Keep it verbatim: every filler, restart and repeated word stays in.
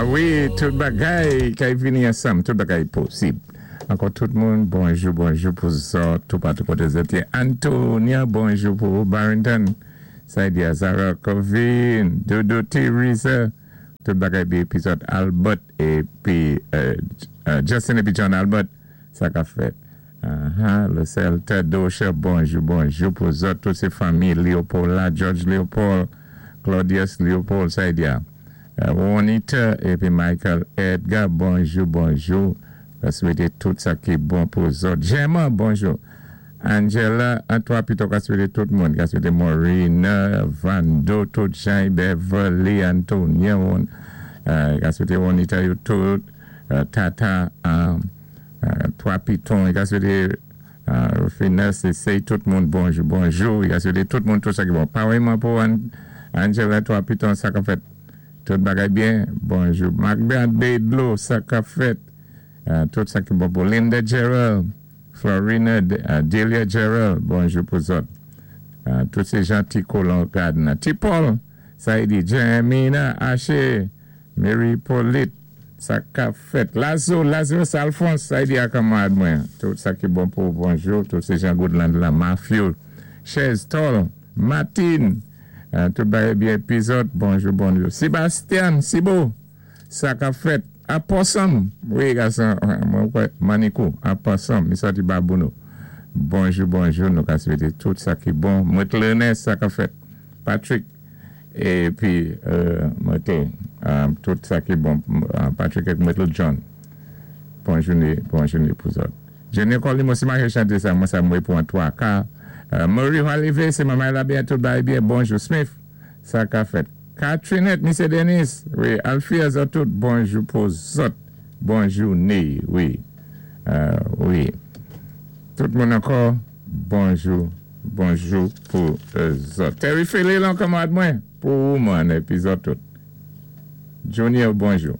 Wi, tout bagay kay vini ansanm, tout bagay posib. Ankò tout moun, bonjou, bonjou pou zòt, tout patou koté zòt yé. Antonia, bonjou pou Barrington. Saidia, Zara, Covin, Dodo, Teresa, tout bagay byen épi zòt Albert épi euh, euh, Justin épi John Albert, sa ka fèt. Uh-huh, le Celta Dosha, bonjou, bonjou pou zòt, tout sé fanmi Léopold la, George Léopold, Claudius Léopold, Saidia. Euh, Juanita épi Michael Edgar, bonjou, bonjou. Ka swété tout sa ki bon pou zòt. Gemma, bonjou. Angela, an twa pito ka swété tout moun. Ka swété Maureen, Vando, tout Jean, Beverly, Antonia, euh, ka swété Juanita yo tout, euh, Tata, euh, euh, twa piton, ka swété euh, Finesse, sé tout moun bonjou, bonjou. Ka swété tout moun tout sa ki bon. Pareillement pou An Angela, twa piton, sa ka fèt. Tout bagay byen, bonjou. Macbeth Bedlo, sa ka fèt. Euh, tout sa ki bon pou Linda Gerald, Florina, euh, Delia Gerald, bonjou pou zòt. Euh, tout sé jan Ti Colon Gardner. Ti Paul, sa i di Jamina, Haché, Mary Paulette, sa ka fèt. Lazo, Lazarus Alphonse, sa i di a kanmarad mwen. Tout sa ki bon pou bonjou, tout sé jan Goodland la, Matthew, Chez Toll, Martin, euh, tout bagay byen épi zòt, bonjou, bonjou. Sébastien, Sibo, sa ka fèt. Aposam, wi, gason, mwen kwè, Manikou, Aposam, mi sòti Babouno. Bonjou, bonjou, nou ka swété tout sa ki bon. Mwen Ernest, sa ka fèt. Patrick, épi, euh, mwen té, euh, tout sa ki bon. Euh, Patrick ak Myrtle John. Bonjou, bonjou pou zòt. Jenny Colli, mwen si mwen chanté sa, mwen sa mwen pou an twa ka. Euh, Marie Olivier, sé manman la byen, tout bagay byen. Bonjou, Smith, sa ka fèt. Catrinette, Misye Denis, wi, Alfia zòt tout, bonjou pou zòt. Bonjou, né, wi. Euh, wi. Tout moun ankò, bonjou, bonjou pou euh, zòt. Terry Philly, lan kanmarad mwen, pou ou man, épi zòt tout. Junior, bonjou.